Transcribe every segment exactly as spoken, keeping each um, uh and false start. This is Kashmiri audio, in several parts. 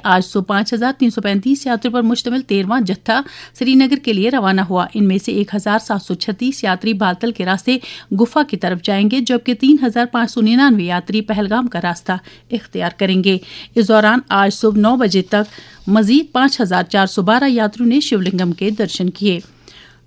آج صبح پانچ ہزار تین سو پینتیس یاتریوں پر مشتمل تیرہواں جتھا سری نگر کے لیے روانہ ہوا۔ ان میں سے ایک ہزار سات سو چھتیس یاتری بالتل کے راستے گفا کی طرف جائیں گے، جبکہ تین ہزار پانچ سو ننانوے یاتری پہلگام کا راستہ اختیار کریں گے۔ اس دوران آج صبح نو بجے تک مزید پانچ ہزار چار سو بارہ یاتریوں نے شیولنگم کے درشن کیے۔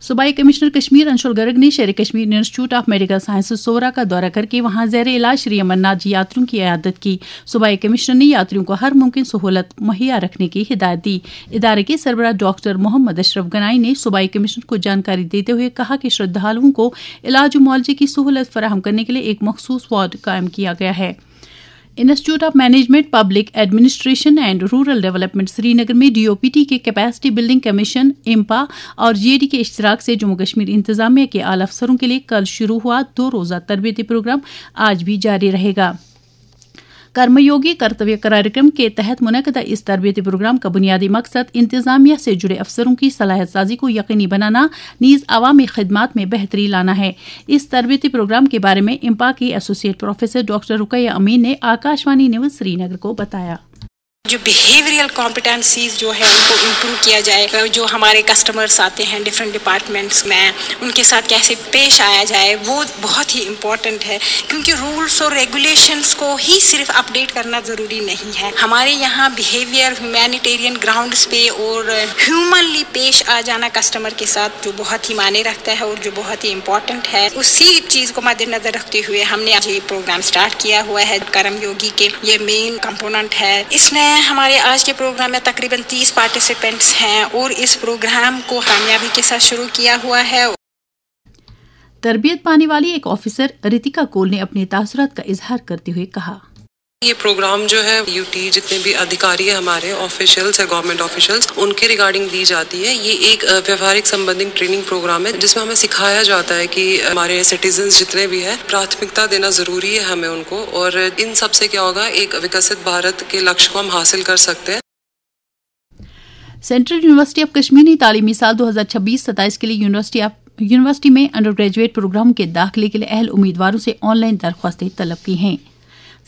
صوبائی کمشنر کشمیر انشول گرگ نے Sher Kashmir institute of medical sciences Soura کا دورہ کر کے وہاں زیر علاج شری امر ناتھ جی یاتریوں کی عیادت کی۔ صوبائی کمشنر نے یاتریوں کو ہر ممکن سہولت مہیا رکھنے کی ہدایت دی۔ ادارے کے سربراہ ڈاکٹر محمد اشرف گنائی نے صوبائی کمشنر کو جانکاری دیتے ہوئے کہا کہ شردھالوؤں کو علاج و معالجے کی سہولت فراہم کرنے کے لیے ایک مخصوص وارڈ قائم کیا گیا ہے۔ Institute of management, public administration and rural development Srinagar میں ڈی او پی ٹی کے کیپیسٹی بلڈنگ کمیشن، امپا اور جی اے ڈی کے اشتراک سے جموں کشمیر انتظامیہ کے اعلی افسروں کے لیے کل شروع ہوا دو روزہ تربیتی پروگرام آج بھی جاری رہے گا۔ کرم یوگی کرتویہ کاریہ کرم کے تحت منعقدہ اس تربیتی پروگرام کا بنیادی مقصد انتظامیہ سے جڑے افسروں کی صلاحیت سازی کو یقینی بنانا، نیز عوامی خدمات میں بہتری لانا ہے۔ اس تربیتی پروگرام کے بارے میں امپا کی associate professor doctor Ruqaya Amin نے آکاشوانی نیوز سری نگر کو بتایا۔ جو بیہیویئرل کمپیٹنسیز جو ہے ان کو امپروو کیا جائے، جو ہمارے کسٹمرس آتے ہیں ڈفرینٹ ڈپارٹمنٹس میں، ان کے ساتھ کیسے پیش آیا جائے، وہ بہت ہی امپورٹنٹ ہے، کیونکہ رولس اور ریگولیشنس کو ہی صرف اپڈیٹ کرنا ضروری نہیں ہے۔ ہمارے یہاں بیہیویئر ہیومینیٹیرین گراؤنڈس پہ اور ہیومنلی پیش آ جانا کسٹمر کے ساتھ جو بہت ہی معنی رکھتا ہے اور جو بہت ہی امپورٹنٹ ہے، اسی چیز کو مد نظر رکھتے ہوئے ہم نے آج یہ پروگرام سٹارٹ کیا ہوا ہے۔ کرم یوگی کے یہ مین کمپوننٹ ہے۔ اس میں ہمارے آج کے پروگرام میں تقریباً تیس پارٹیسپینٹس ہیں اور اس پروگرام کو کامیابی کے ساتھ شروع کیا ہوا ہے۔ تربیت پانے والی ایک آفیسر رتیکا کول نے اپنے تاثرات کا اظہار کرتے ہوئے کہا۔ یہ پروگرام جو ہے، یو ٹی جتنے بھی ادھیکاری ہیں ہمارے، آفیشلز ہیں، government officials, in K regarding the جاتی ہے۔ یہ ایک، آ، ویوہارک سمبندھک ٹریننگ پروگرام ہے، جس میں ہمیں سکھایا جاتا ہے کہ ہمارے سٹیزنز جتنے بھی ہیں، پراتھمکتا دینا ضروری ہے ہمیں ان کو، اور ان سب سے کیا ہوگا، ایک وکست بھارت کے لکش کو ہم حاصل کر سکتے ہیں۔ سینٹرل یونیورسٹی آف کشمیر نے تعلیمی سال دو ہزار چھبیس ستائیس کے لیے یونیورسٹی آف یونیورسٹی میں انڈر گریجویٹ پروگرام کے داخلے کے لیے اہل امیدواروں سے آن لائن درخواستیں طلب کی ہیں۔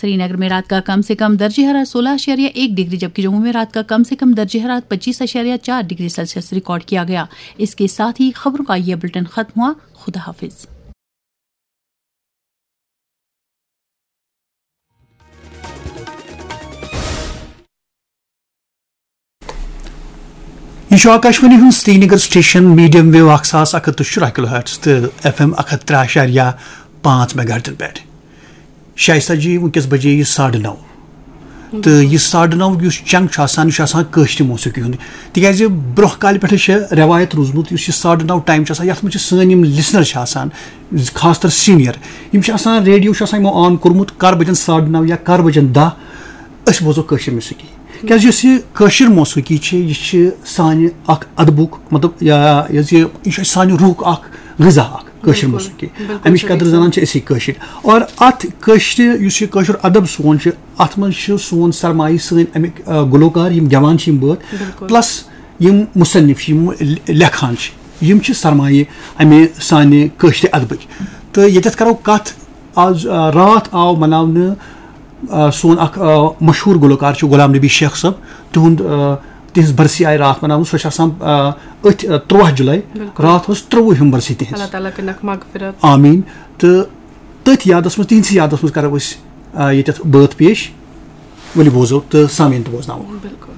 سری نگر میں رات کا کم سے کم درجہ حرارت سولہ اعشاریہ ایک ڈگری، جبکہ جموں میں رات کا کم سے کم درجہ حرارت پچیس اعشاریہ چار ڈگری سیلسیس ریکارڈ کیا گیا۔ اس کے ساتھ ہی خبروں کا یہ بلٹن ختم ہوا۔ خدا حافظ۔ یہ چھُ آکاشوانی ہُنٛد سرینگر سٹیشن، میڈیم ویو اکھ ساس اکھ ہتھ تہٕ شُراہ کلو ہرٹز تہٕ ایف ایم اکھ ہتھ ترٛےٚ اعشاریہ پانٛژھ میگا ہرٹزن پٮ۪ٹھ۔ شائستہ جی، وٕنکیٚس بجے یہِ ساڑٕ نَو۔ تہٕ یہِ ساڑٕ نَو یُس چنٛگ چھُ آسان، یہِ چھُ آسان کٲشرِ موسیقی ہُنٛد۔ تِکیٛازِ برٛونٛہہ کالہِ پٮ۪ٹھٕے چھِ رٮ۪وایت روٗزمٕژ، یُس یہِ ساڑٕ نَو ٹایم چھُ آسان، یَتھ منٛز چھِ سٲنۍ یِم لسنر چھِ آسان، خاص طور سینئر، یِم چھِ آسان، ریڈیو چھُ آسان یِمو آن کوٚرمُت، کر بجن ساڑٕ نَو یا کر بجن دَہ، أسۍ بوزو کٲشِر موسیقی۔ کیٛازِ یُس یہِ کٲشِر موسیقی چھِ، یہِ چھِ سانہِ اکھ ادبُک، مطلب، یا یۄس یہِ، یہِ چھُ اَسہِ سانہِ روحُک اکھ غذا اکھ کٲشِر بِلکُل، موسیقی۔ بِلکُل اَمِچ صحیح قدر کَتھ۔ زانان چھِ أسی کٲشِرۍ۔ اور اَتھ کٲشرِ، یُس یہِ کٲشُر ادب سون چھُ، اَتھ منٛز چھُ سون سرمایہِ، سٲنۍ اَمِکۍ، آ، گُلوکار، یِم گٮ۪وان چھِ یِم بٲتھ، بِلکُل۔ پلس یِم مُصنِف چھِ، یِم لے-، لیکھان چھِ، یِم چھِ سرمایہِ اَمہِ سانہِ کٲشرِ ادبٕکۍ۔ تہٕ ییٚتٮ۪تھ کرو کَتھ آز، آ، راتھ آو مناونہٕ، آ، سون اکھ، آ، مشہوٗر گلوکار چھُ غلام نبی شیخ صٲب، تِہُنٛد، آ، تِہنٛز برسی آیہِ راتھ مناونہٕ۔ سۄ چھِ آسان، آ، أتھۍ، آ، تُرٛواہ جُلے۔ بِلکُل۔ راتھ ٲس ترٛۆوُہِم برسی تِہنٛز۔ اللہ تعالیٰ کٔرِنَکھ مغفرت۔ آمیٖن۔ تہٕ تٔتھۍ یادس منٛز، تِہنٛدسٕے یادس منٛز کرو أسۍ، آ، ییٚتٮ۪تھ بٲتھ پیش۔ ؤلِو بوزو تہٕ سامعیٖن تہِ بوزناوو۔ بِلکُل۔